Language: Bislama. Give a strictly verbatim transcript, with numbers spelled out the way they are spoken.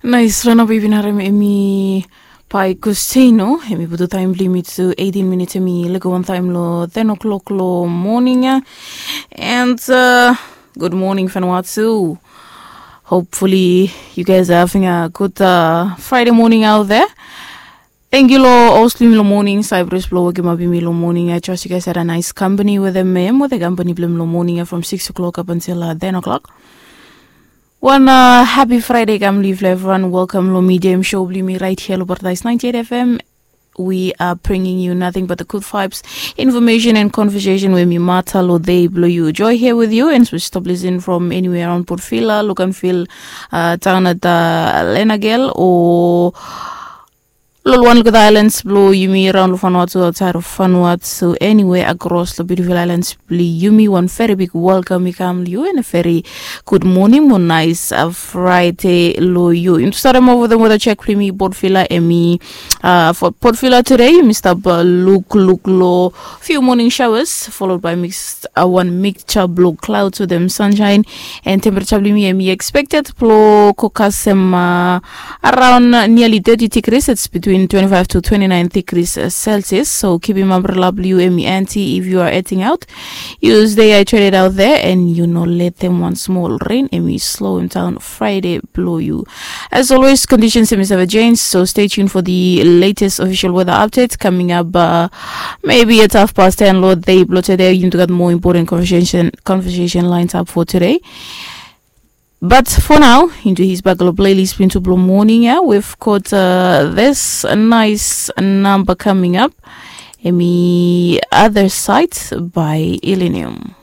Nais rana baby na rem emi pai kusteno emi butu taim bli mi tu eighteen minutes emi lego wan taim lo ten o'clock lo morning ya. And uh, good morning Vanuatu. Hopefully you guys are having a good uh, Friday morning out there. Thank you lo host bli mi lo morning, Cyprus blo wokim up mi lo morning. I trust you guys had a nice company with them, ma'am, with the company bli mi lo morning from six o'clock up until uh, ten o'clock. One uh, happy Friday kam live lo everyone. Welcome lo medium show bli mi right here lo Paradise ninety-eight F M. We are bringing you nothing but the good vibes, information and conversation with me, Mata lo day blo you. Joy here with you, and we stop listen from anywhere around Port Vila, look and feel uh, down at the Lenagel or Lolo wan lukut islands blo yumi raon lo Vanuatu, outside of Vanuatu, anywhere across lo beautiful islands blo yumi, wan very big welcome i kam lo yu and a very good morning mo nice uh, Friday lo yu. Yumi start em over the weather check blo yumi. Port Vila emi uh, for Port Vila today yumi stap uh, look look lo few morning showers followed by mixed uh, one mixture blo clouds with them sunshine, and temperature blo yumi emi expected blo go kasem uh, around uh, nearly thirty degrees. It's between twenty-five to twenty-nine degrees uh, Celsius. So keep him umbrella blue emi anti if you are heading out. You stay hydrated out there and you know let them one small rain emi slow him down Friday blo you. As always, conditions emi save change, so stay tuned for the latest official weather updates coming up uh, maybe at half past ten lo day blo today. You got more important conversation conversation lines up for today. But for now, into his bagalo playlist blo morning, yeah, we've got uh, this nice number coming up. Emi Other Side by Illenium.